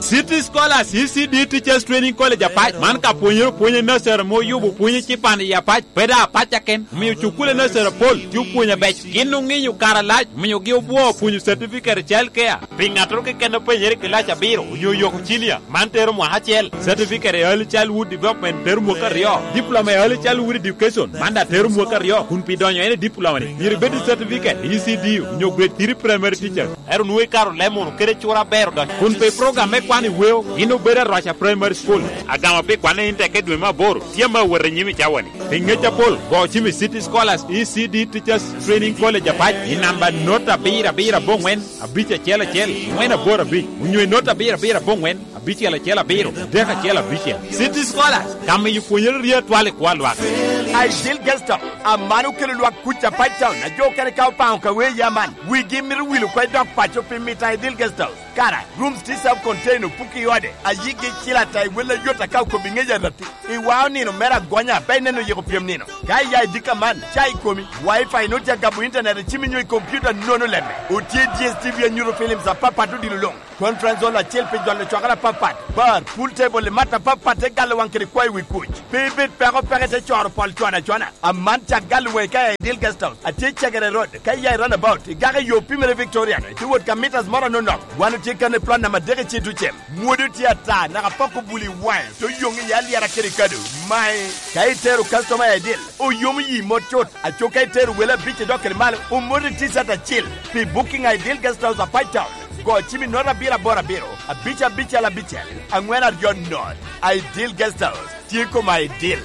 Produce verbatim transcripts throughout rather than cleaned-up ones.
City Scholars E C D Teachers Training College Apac, man ka pwonyere opwonyo i nursery ame oyubo pwonyo cipan i Apac, pe daŋ Apac aken, omio cukul i nursery apol tye opwonyo abeco. Gin oŋinyo kare alac, omiogi obwoo pwonyo certificate i child care. Pi ŋattoro keken a penyere i kilac abiro onyo oyoko cilia, man tero mwaka acel. Certificate i Early Childhood Development tero mwaka aryo. Diploma i Early Childhood Education, man daŋ tero mwaka aryo. Kun pi donyo en i diploma-ni, myero ibed i certificate i E C D onyo grade three primary teacher. Ero nwoŋo ikaro leb munu kede cura aber odonyo. Kun pi program me kwan i weo, gin obedo Aroca Primary School. Agama pi kwan i Intek i dwe me aboro, tye ame awot i nyim i cawa-ni. Pi ŋec apol, go cim i City Scholars E C D Teachers Training College Apac i namba not abiro abiro aboŋwen, abic acel acel, ŋwen aboro abic, onyo i not abiro abiro aboŋwen, abicel acel abiro, adek acel abicel. City Scholars, ka miyo pwonyere rye atwal i kwo a lwak. Ideal Guest House, aman okelo lwak kuc Apac Town, a jo okene ka opaŋo ka wee ya man, wigi mito wil oko i dog paco pi mito Ideal Guest House. Kara, rooms tye self contained, opuki i ode, a yigi cil ata i wel ayot aka okobi ŋec arati. I wa onino mere agonya, pe ineno yiko pyem nino. Ka iya i dika man, ca i komi, Wi-Fi nut ya gabo internet i cimi nyo i computer nono lemme. Otye D S T V anyuto films apapat odilo luŋ. Conference hall acel pi jolo cwakere apapat. Bar, pool table i mat apapat te galo waŋ kede kwayo wi kuc. Pe ibed peko peke te coro pol cwana cwana. Aman cak galo waŋ i ka i Ideal Guest House. Atye i Cegere Road, ka iya i roundabout, igako i yo pimere Victoria, ite wot ka meters moro anonok. Wan otye kan i plot namba adek i Citucem. Mwodo tye ata, naka pok obuli waŋe, te oyoŋ iye alyera kede kado. Mae, ka itero customer i Ideal, oyomo yi mot cut. Aco ka itero wele abic i dok kede malo, omoti t-shirt acil. Pi booking i Ideal Guest House Apac Town, go cim i not abiro aboro abiro, abic abicel abicel, aŋwen aryo not. Ideal Guest House, tye koma Ideal.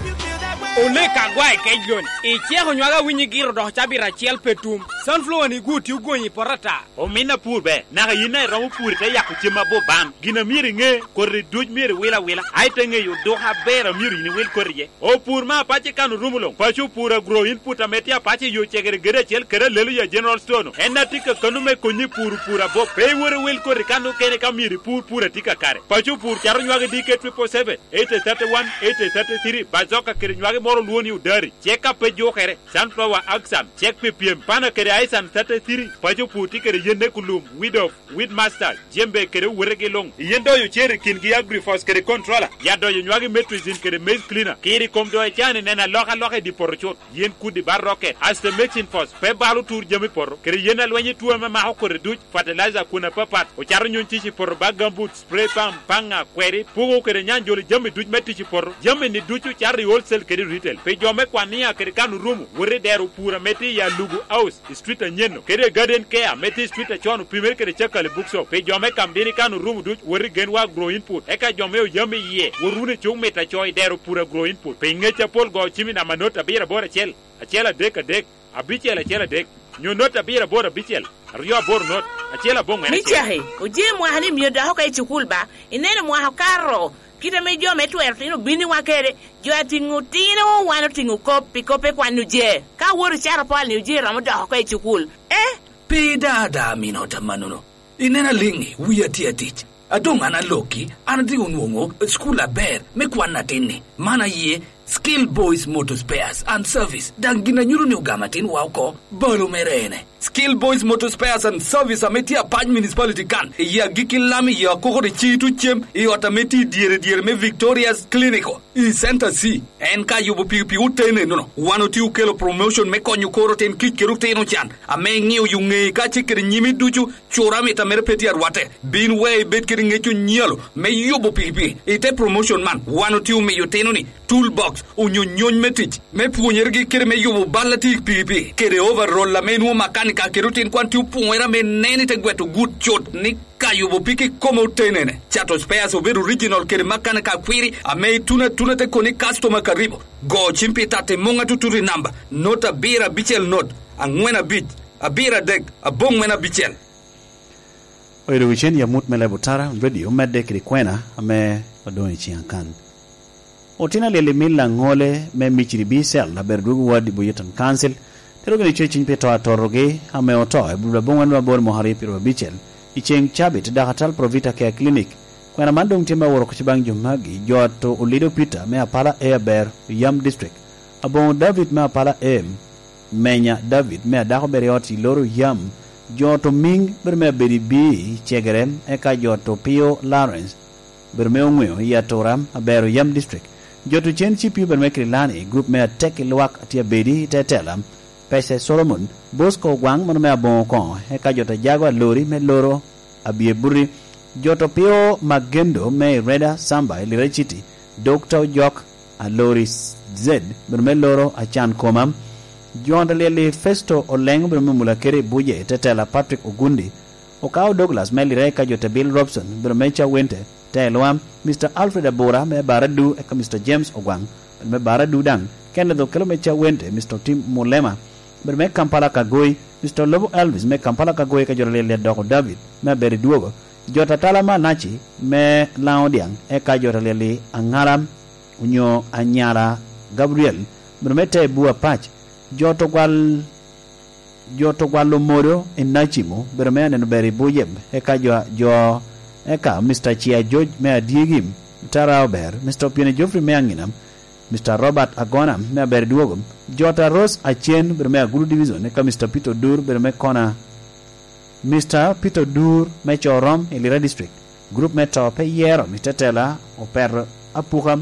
Olek agwa i kec loni, iceko nywaka winyi giro dok cabit acel pe tum. Sunflower ni gu tye ogonyi i poto ata. Omin apur be, naka yin a iromo pur ite yako cem abup ban. Gin a myero iŋe, koti duc myero iwil awila, a ite ŋeyo oduka aber a myero yin iwil koti iye. Opur me apac i kan orumo luŋ, paco opur agro input ame tye apac i yo cegere gedo acel kede alelo ya General Store-nu. En a tye ka kano me konyi i pur opur abup. Pe iwot iwil koti kan okene ka myero ipur pur a tye kakare. Paco opur cato nywagi D K triple seven, eight thirty-one, eight thirty-three, bazoka kede nywagi moro olwo ni odari. Cek a pe jukere, sunflower, axan, cek pi pyem, pana kede aisan thirty-three, paco opur tye kede yenne kulum, weed of, weed master, jembe kede owetegi luŋ. Yen doyo cer i kingi agrifos kede controller, ya doyo nywagi metrizin kede maize cleaner. Kiri kom doyo can i neno alokaloka i di poto cut. Yen kudi ba rocket, aste mexin fos, pe balo tur jami poto, kede yen alweny i tuo ame mako kodi duc, fertilizer kun apapat, ocato nyuŋ cic i poto ba gambut, spray pump, paŋa, kweri, pugo kede nyanjolo jami duc me tic i poto. Jami-ni ducu cato i wholesale kede retail. Pi jo me Kwania kede kan orumo, wot i dero pur ame tye i Alugu House, i street anyen-nu, kede Garden Care ame tye i street acon opimere kede Cakali Bookshop. Pi jo me Kamdini kan orumo duc, wot i Genwa Agro Input. Eka jo me Oyam iye, wot wunu i Cuk Mit Aco i dero pur Agro Input. Pi ŋec apol go cim i namba not abiro aboro acel, acel adek adek, abicel acel adek, nyo not abiro aboro abicel, aryo aboro not, acel aboŋwen acel. Micaki, oje mwaka ni mio dok oko i cukul ba, ineno mwaka okato, kit ame jo me twero tino obinniwa kede, jo atiŋo tino wan otiŋo kop, pi kop pe kwan oje. Ka wot ocato pol ni oje romo dok oko i cukul. Eh? Pe ida ada minota manono. Ineno aliŋi, wia tye atic. A doŋ an alokki, an atye onwoŋo cukul aber me kwan atin-ni. Man aye Skill Boys Motor Spares and Service. Daŋ gin a nyuto ni ogamo atinwa oko, balo mere ene. Skill Boys Motor Spares and Service ame tye Apac Municipality kan, i agikki lam i akoko de Citu cem, i ot ame tye i dyere dyere me Victoria's Clinical, i Center C. En ka yubo pikipiki oten enono, wan otye okelo promotion me konyo koro otin kic kede otino can, ame iŋeo yo ŋeyi kacel kede nyimi ducu. Cura mit a mere pe tye arwatte. Bin wek ibed kede ŋec onyalo me yubo pikipiki. I te promotion man, wan otye omiyo otino-ni toolbox, onyo nyony me tic, me pwonyeregi kede me yubo bal a tye i pikipiki, kede overall ame nwoŋo makanika kede otin kwan tye opwonyere ame nen i te gweto gut cut ni ka yubo piki kome otenene. Cato spares obed original kede makanika akwiri ame ituno atuna te koni customer karibu. Go cim pi tatti muŋ atutut i namba, not abiro abicel not, aŋwen abic, abiro adek, aboŋwen abicel. Oyo dogicen i amut me Leb Otara Radio medde kede kwena ame odoŋ i ciŋa kan. Otino alyel i mil aŋole me Miciri B Cell, abedo dwogo wad i Boyerton Council, tero gini ceciny pi to atorogi ame oto i Bulbul aboŋwen me aboro mwaka aryo pyeraryo abicel, i ceŋ cabit i Dakatal Provita Care Clinic. Kwena man doŋ tye me woro kuc baŋ jo magi, jo ato Olido Peter me Apala A aber, Yam District, Aboŋo David me Apala A, Menya David me Adako Beriot i Loro Yam, Jo to Ming bedo me Abedi Bii Cegere, eka jo to Pio Lawrence bedo me Oŋweo i Atura, Abero Yam District. Jo to Cen Cipio bedo me Kirilani, grup me Atek i Lwak tye Abedi i Tetela, Pece Solomon, Bosco Ogwaŋ mano me Aboŋo Koŋo, eka jo to Jago Alori me Loro Abye Buti. Jo to Pio Magendo me Ireda Samba i Lira City, Dokta Ojok Alori Z bedo me Loro Acan Koma. Jo to Lyel i Festo Oleŋ bedo me Mulakere i Buje i Tetela, Patrick Ogundi, Okao Douglas me Lira, eka jo to Bill Robson bedo me Cawente, Telwa, Mister Alfred Abura me Baradu, eka Mister James Ogwaŋ bedo me Baradu daŋ, Kenneth Okello me Cawente, Mister Tim Mulema bedo me Kampala Kagoi, Mister Lobo Elvis me Kampala Kagoi, eka jo to Lyel i Adoko David me Abedi Dwogo, jo to Atala Manaci me Laŋo Diaŋ, eka jo to Lyel i Aŋala onyo Anyala Gabriel bedo me Tebu Apac, jo to Gwal jo to gwalo modo i Nacimo bedo me Aneno Ber i Bujeb, eka jo, jo, eka Mister Cia George me Adyegi, Tara Ober, Mister Opiene Geoffrey me Aŋinam, Mister Robert Agona me Aber Dwogo, jo to Rose Acen bedo me Agulu Division, eka Mister Peter Odur bedo me Kona, Mister Peter Odur me Corom i Lira District, grup me to pe yero, Mister Tela Opeto Apuka,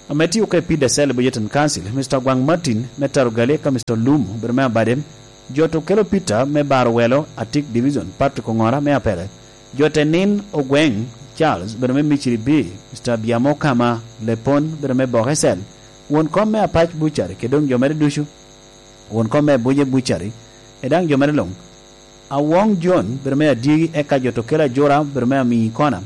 ame tye oko i Pida Cell i Bujeten Council, Mister Gwaŋ Martin me Tarugali, eka Mister Lum obedo me Abade, jo to Kelo Peter me Baro Welo, Atik Division, Patrick Oŋora me Apere, jo te Nin Ogweŋ Charles obedo me Miciri B, Mister Abiamo Kama Lepon obedo me Boke Cell, won kom me Apac Bucari, kede doŋ jo mere ducu, won kom me Abuje Bucari, e daŋ jo mere luŋ. Awoŋ Jon bedo me Adyegi, eka jo to Kelo Ajura bedo me Amiŋi Kona,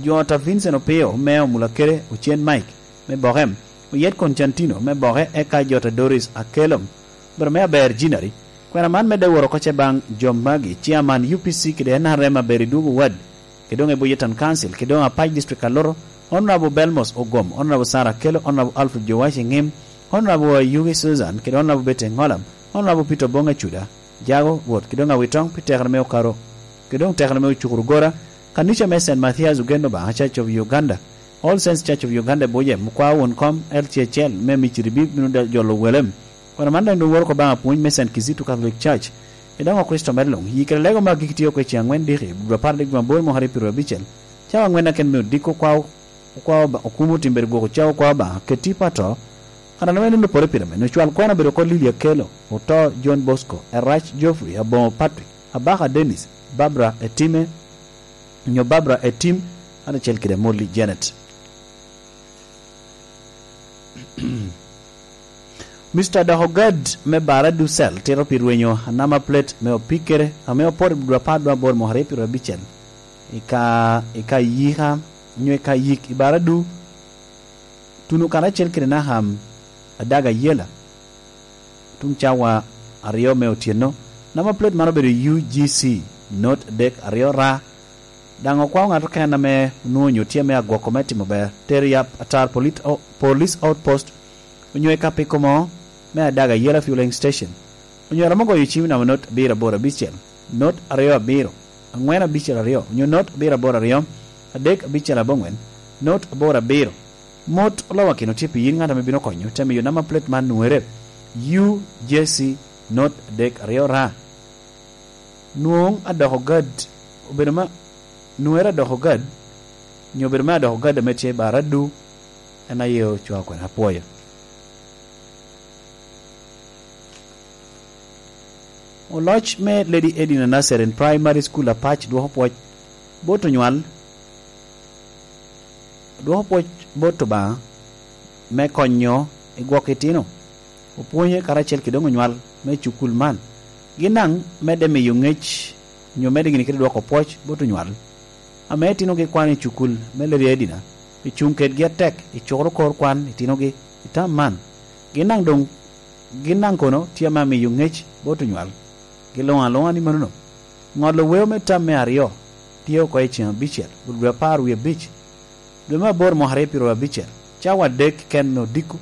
jo to Vincent Opio me Omulakere, Ocen Mike me Boke, Oyet Constantino me Boke, eka jo to Doris Akelom bedo me Aber Jinari. Kwena man medde woro oko ce baŋ jo magi, Chairman U P C kede N R M Aber i Dwogo Ward, kede doŋ i Bujeten Council, kede doŋ Apac District Aloro, Honorable Belmos Ogom, Honorable Sarah Akello, Honorable Alfred Jowash Eŋim, Honorable Ayugi Susan, kede Honorable Betty Eŋolam, Honorable Peter Oboŋ Acuda, Jago, Rwot, kede doŋ Awitoŋ pi tekere me Okaro, kede doŋ tekere me Ocukuru Gora, kanica me Saint Mathias Ogen Obaŋa Church of Uganda, All Saints Church of Uganda Buje, mukwa won kom L C H L me Miciri bino da-, jolo welem. Kwena man daŋ doŋ woro oko baŋ apwony me Saint Kizito Catholic Church, i daŋ Okricito mere luŋ. Yi kede lego me agikki tye oko i ceŋ aŋwen diki, dwe apar adek dwe aboro mwaka aryo pyeraryo abicel, cawa aŋwen aken me odiko okwa, okwa Oba-, okumo timbere gwok ocawa okwa Obaŋa, keti pato, kan ame nonno opore pire me, nyo cwal kwena obedo oko Lily Akello, oto John Bosco, Erac Geoffrey, Aboŋo Patrick, Abaka Dennis, Barbara Etime, nyo Barbara Etim, karacel kede Molly Janet. Mister Dok Ogad me Bara Ducel tito pi rwenyo anama plate me opikere ame opoto i dwe apar dwe aboro mwaka aryo pyeraryo abicel i ka, i ka yika, nyo i ka yik i Bara Du, tuno karacel kede Naham Adaga Yela. Tuŋ cawa aryo me otyeno, namba plate man obedo U G C, not adek aryo ra. Daŋ okwao ŋat oken ame onwoŋo onyo tye ame agwoko me timo ber, tero i ap-, atar polit-, o-, police outpost, onyo i kapiko mo me Adaga Yela Fueling Station, onyo romo goyo cim i namba not abiro aboro abicel, not aryo abiro, aŋwen abicel aryo, onyo not abiro aboro aryo, adek abicel aboŋwen, not aboro abiro. Mot olowakino tye pi yin ŋat ame bino konyo, te miyo namba plate man nwoŋere, U J C not adek aryo ra. Nwoŋ adoko gad, obedo ma, nwoŋere adoko gad, nyo obedo me adoko gad ame tye i Bara Du, en aye ocwao kwena, apwoyo. Oloc me Lady Edina Nursery and Primary School Apac dwoko pwoc bot onywal, dwoko pwoc bot Obaŋa me konyo i gwoko itino, opwonye karacel kede doŋ onywal me cukul man. Gin daŋ medde miyo ŋec, nyo medde gini kede dwoko pwoc bot onywal ame itinogi kwano i cukul me Lady Edina, pi cuŋ kedgi atek i cukoro kor kwan itinogi i tam man. Gin daŋ doŋ, gin daŋ kono tye ame amiyo ŋec bot onywal. Giluŋo aluŋa ni manono. Ŋolo weo me tam me aryo tye oko i ceŋ abicel, dwe apar wie abic, dwe me aboro mwaka aryo pyeraryo abicel, cawa adek keken me odiko,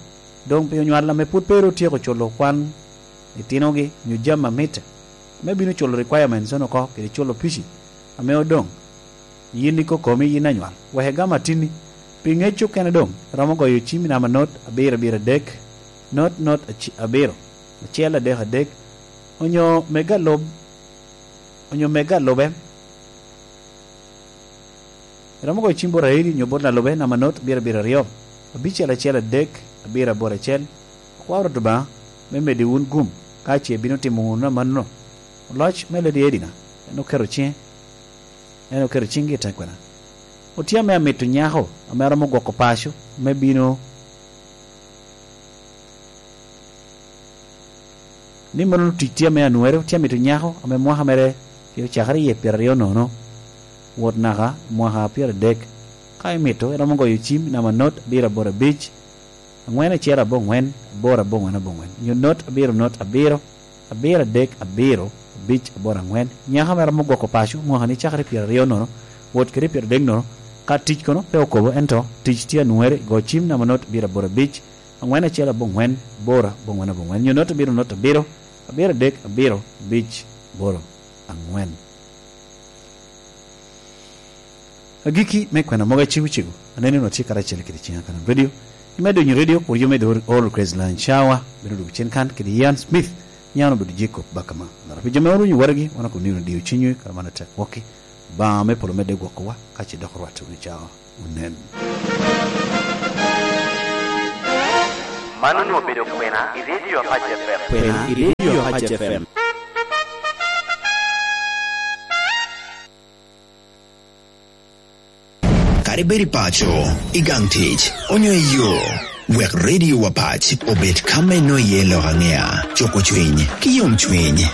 doŋ pi onywal ame pwod pe ru otyeko culo kwan itinogi nyo jami a mitte, me bino culo requirements-ono oko kede culo pici ame odoŋ. Yin ikokomi, yin anywal, wek igam atinni. Pi ŋec okene doŋ, iromo goyo cim i namba not abiro abiro adek, not not aci-, abiro, acel adek adek, onyo mega lub onyo mege a lube. Iromo goyo cim bot Aili onyo bot Lalube namba not abiro abiro aryo, abicel acel adek, abiro aboro acel. Akwao Rwot Obaŋa me medi wun gum, ka ce ibino timo wunu amanno. Oloc me Lady Edina, en oketo ciŋe, en oketo ciŋgi i tekwena. Otye ame amito nyako ame romo gwoko paco me bino ni mano tic tye ame anwere, tye amito nyako ame mwaka mere tye ocakere iye pyeraryo nono, wot naka mwaka pyeradek. Ka imito, iromo goyo cim namba not abiro aboro abic, angwen acel abongwen, aboro abongwen abongwen, nyo not abiro not abiro, abiro adek abiro, abic aboro angwen. Nyako ame romo gwoko paco mwaka ni cakere pyeraryo nono, wot kede pyeradek nono. Ka tic kono pe okobo, ento tic tye anwere, go cim namba not abiro aboro abic, angwen acel abongwen, aboro abongwen abongwen, nyo not abiro not abiro, abiro adek abiro, abic aboro angwen. Agikki me kwena mogo acego cego, aneno ni watye karacel kede ciŋa Kalam Radio. Imedo winyo radio, kur yome the All Grace Line Shower, bino dwogo cen kan kede Ian Smith, Ian obedo Jacob Bakama. Laro pi jo me orunyo waragi, wan akobo ni wunu diyo cinywu, kara man atek wokki. Obaŋa me polo medde gwokkowa, ka ce dok orwatte wunu cawa. Onen. Man onwoŋo obedo kwena i Radio Apac F M. Kwena i Radio Apac F M. Kadi bed i paco, i gang tic, onyo i yo, wek Radio Apac obed ka me nwoŋo iye lok aŋea, cuko cwiny, ki yomcwiny.